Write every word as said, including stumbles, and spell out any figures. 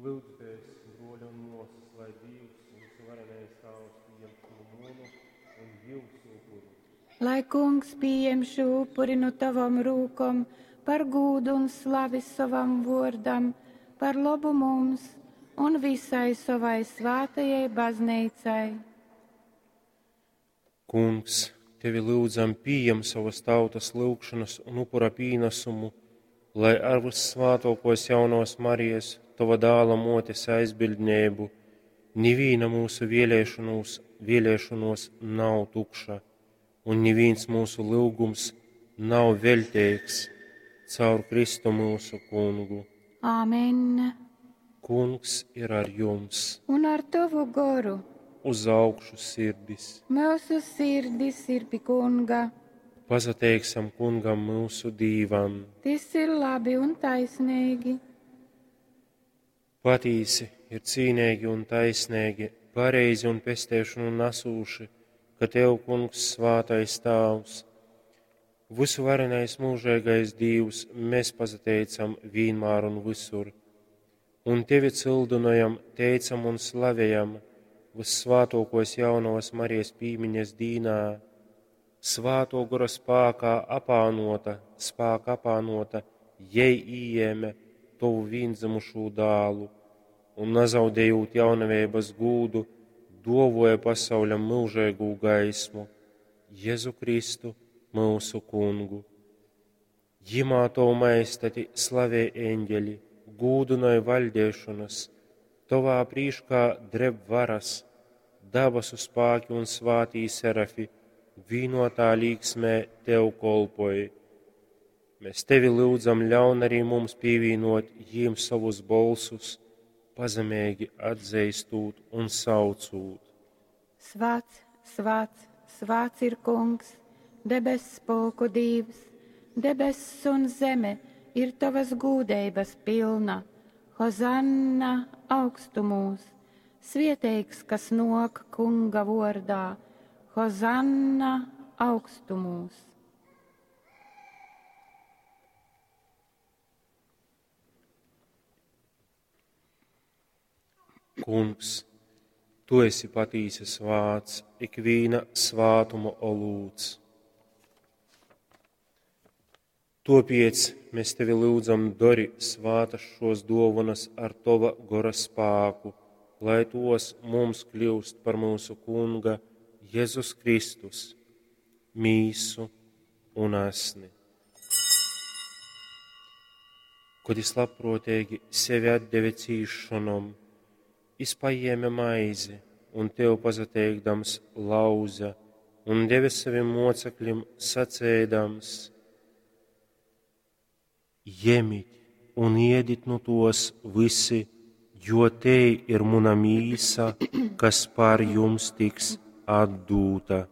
Lyudzitēs, bruoļi un muosys, lai Dīvs, vysuvarenais Tāvs, pījem šū munu un jiusu upuri. Lai Kungs pījem šū upuri nu tavom rūkom par gūdu un slavi sovam vuordam, par lobu mums un visai sovai svātajai bazneicai. Kungs, tevi lyudzam, pījem sovas tautas lyugšonas un upura pīnasumu, lai ar vyssvātuokuos jaunovas Marijas, tova Dāla muotes aizbiļdneibu, nivīna myusu vēlēšonuos, vēlēšonuos nav tukša un nivīns myusu lyugums nav veļteigs caur Kristu myusu Kungu. Āmen. Kungs ir ar jums. Un ar tovu goru. Uz augšu sirdis. Myusu sirdis ir pi Kunga. Pasateiksim Kungam myusu Dīvam. Tys ir labi un taisneigi. Patīsi ir cīneigi un taisneigi, pareizi un pesteišonu nasūši, ka tev, Kungs, svātais Tāvs, vysuvarenais mūžeigais Dīvs, mēs pasateicam vīnmār un visur, un tevi cildinojam, teicam un slavējam vyssvātōkos jaunovas Marijas pīmiņas dīnā, svāto gora spākā apānota, spāka apānota, jei ījēme tovu vīndzimušū dālu, un nazaudējot jaunaveibas gūdu, duovoja pasauļam myužeigū gaismu, Jezu Kristu, myusu Kungu. Jimā tovu maestati slavē eņģeļi, gūdynoj vaļdēšonas, tovā prīškā dreb varas, dabasu spāki un svātī serafi, vīnotā līksmē tev kolpoj. Mēs tevi lyudzam, ļaun arī mums pievienot jīm savus bolsus, pazemeigi atzeistūt un saucūt. Svāts, svāts, svāts ir Kungs, debess pulku Dīvs, debess un zeme ir tavas gūdeibas pilna. Hozanna augstumūs, svieteigs, kas nok Kunga vordā. Hozanna augstumūs. Kungs, tu esi patīsi svāts, ikvīna svātuma olūts. Topiec mēs tevi lūdzam, dori svātas šos dovanas ar tova gora spāku, lai tos mums kļūst par mūsu Kunga Jēzus Kristus, mīsu un asni. Kod jis labprōteigi sevi atdeve cīšanom, jis paēma maizi un tev pasateikdams lauza un deve savim mocekļim sacēdams: Jemit un iedit nu tos visi, jo te ir muna mīsa, kas par jums tiks atdūta.